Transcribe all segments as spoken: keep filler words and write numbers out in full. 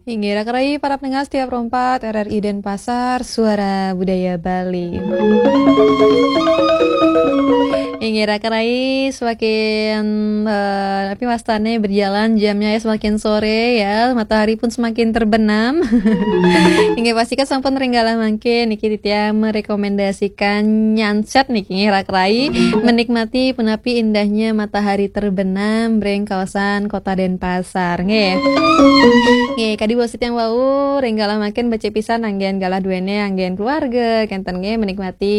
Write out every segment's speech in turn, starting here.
Inggih, raka rayi para pendengar setia Pro empat R R I Denpasar, Suara Budaya Bali. Inggih, raka rayi semakin, eh, tapi wastane berjalan jamnya ya, semakin sore ya, matahari pun semakin terbenam. Inggih, pasti kan sampun ring galah mangkin niki titiang merekomendasikan nyanset niki, nggih, raka rayi menikmati punapi indahnya matahari terbenam ring kawasan Kota Denpasar, nggih. Nggih, kadi wau sitiang wau, ring galah mangkin becik pisan anggen galah duene, anggen keluarga, kenten nggih, menikmati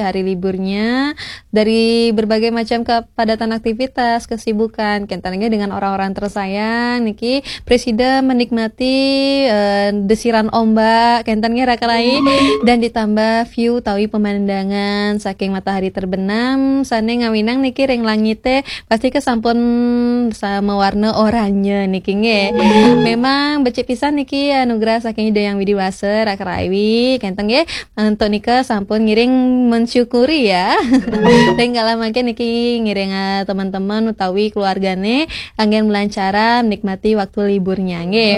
hari liburnya dari berbagai macam kepadatan aktivitas, kesibukan, kenten nggih, dengan orang-orang tersayang niki, presida menikmati, eh, desiran ombak, kenten nggih, raka rayi, dan ditambah view utawi pemandangan saking matahari terbenam sane ngawinang niki ring langite, pasti kesampun sa-, mawarna oranye niki, nggih. Memang becik pisan niki anugerah saking Ida Yang Widi Wasa, raka rayi, kenten nggih. Antuk nika sampun ngiring mensyukuri ya. Ring galah mangkin niki ngiring, eh, teman-teman utawi keluargane anggen melancara menikmati waktu liburnya, nggih.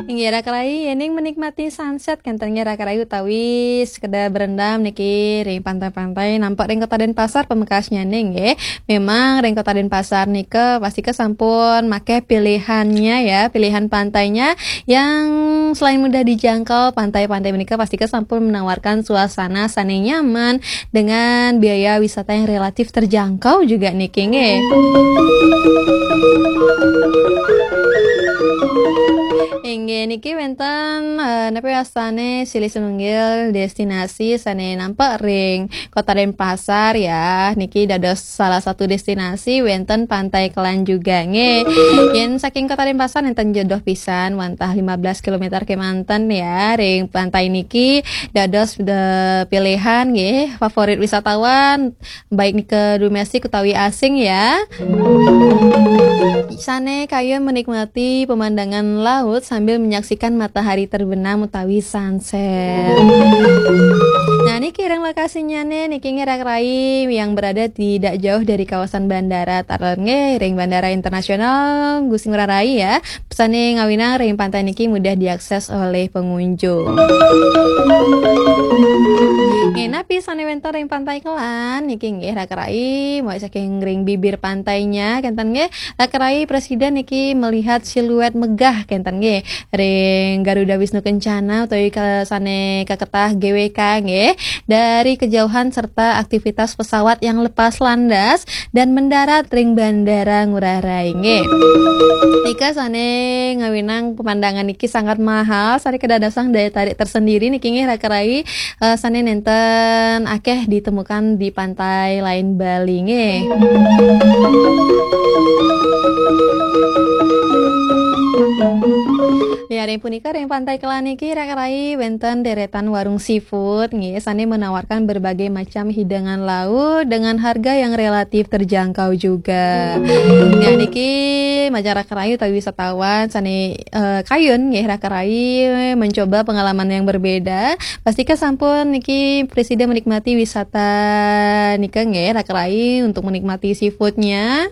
Inggih, raka rayi, yening menikmati sunset, kenten nggih, raka rayi, utawi sekedar berendam niki ring pantai-pantai, nampek ring Kota Denpasar pamekasnyane, nggih. Memang ring Kota Denpasar nika pasti kesampun make pilihannya ya, pilihan pantainya yang selain mudah dijangkau, pantai-pantai menika pasti kesampun menawarkan suasana sane nyaman dengan biaya wisata yang relatif terjangkau juga niki, nggih. Inggih, niki wenten, eh, napa wastane silih sinunggil destinasi sane nampek ring Kota Denpasar ya. Niki dados salah satu destinasi wenten Pantai Kelan juga, nggih. Yen saking Kota Denpasar nenten jedoh pisan, wantah lima belas kilometer kemanten ya. Ring pantai niki dados de pilihan, nggih, favorit wisatawan, baik nika domestik utawi asing ya. Sane kayun menikmati pemandangan laut sambil menyaksikan matahari terbenam utawi sunset. Nah, niki ring lokasinyane niki, nggih, raka rayi, yang berada tidak jauh dari kawasan bandara, taler nggih ring Bandara Internasional Gusti Ngurah Rai ya. Sane ngawinang ring pantai niki mudah diakses oleh pengunjung. Nggih, napi sane wenten ring Pantai Kelan niki, nggih, raka rayi, mulai saking ring bibir pantainya, kenten nggih, raka rayi presida niki melihat siluet megah, kenten nggih, ring Garuda Wisnu Kencana utawi ke-, sane kaketah G W K, nggih, dari kejauhan serta aktivitas pesawat yang lepas landas dan mendarat ring Bandara Ngurah Rai, nggih. Nika sane ngawinang pemandangan niki sangat mahal, sane kedadosan daya tarik tersendiri niki, nggih, raka rayi, eh, sane nenten akeh ditemukan di pantai lain Bali, nggih. Ya, ring punika, ring Pantai Kelan niki, raka rayi, wenten deretan warung seafood, nggih, sane menawarkan berbagai macam hidangan laut dengan harga yang relatif terjangkau juga. Ya, niki majeng raka rayi utawi wisatawan sane, eh, kayun, nggih, raka rayi, mencoba pengalaman yang berbeda. Pasti kesampun niki presida menikmati wisata nika, nggih, raka rayi, untuk menikmati seafoodnya.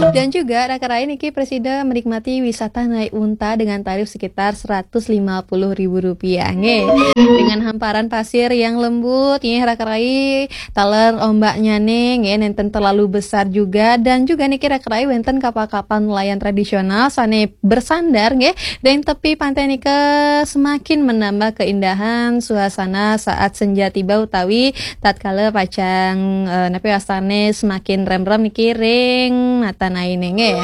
Dan juga raka rayi niki presida menikmati wisata naik unta dengan tarif sekitar seratus lima puluh ribu rupiah, nggih. Dengan hamparan pasir yang lembut, nggih, raka rayi, taler ombaknyane, nggih, nenten terlalu besar juga, dan juga niki raka rayi wenten kapal-kapal nelayan tradisional sane bersandar, nggih, ring tepi pantai nika semakin menambah keindahan suasana saat senja tiba utawi tatkala pacang, eh, napi wastane semakin remrem niki ring mata aine, nggih.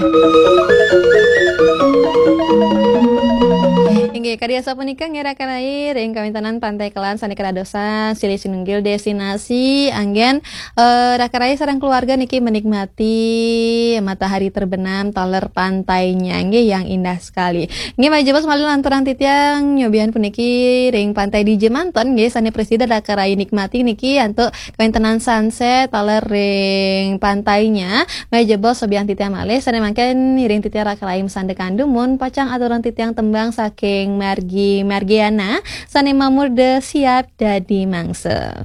Inggih, kadi asapunika nggih raka rayi ring kawentenan Pantai Kelan sane kadadosan silih sinunggil destinasi anggen, eh, raka rayi sareng keluarga niki menikmati matahari terbenam taler pantainya, nggih, yang indah sekali. Nggih, malih jebos malih lanturang titiang nyobian puniki ring Pantai Dija manten, nggih, sane presida raka rayi nikmati niki antuk kawentenan sunset taler ring pantainya. Malih jebos sobian titiang malih sane mangkin ngiring titiang raka rayi masandekan dumun, pacang aturang titiang tembang saking Margi Margiana sane mamurda Siap Dadi Mangsa.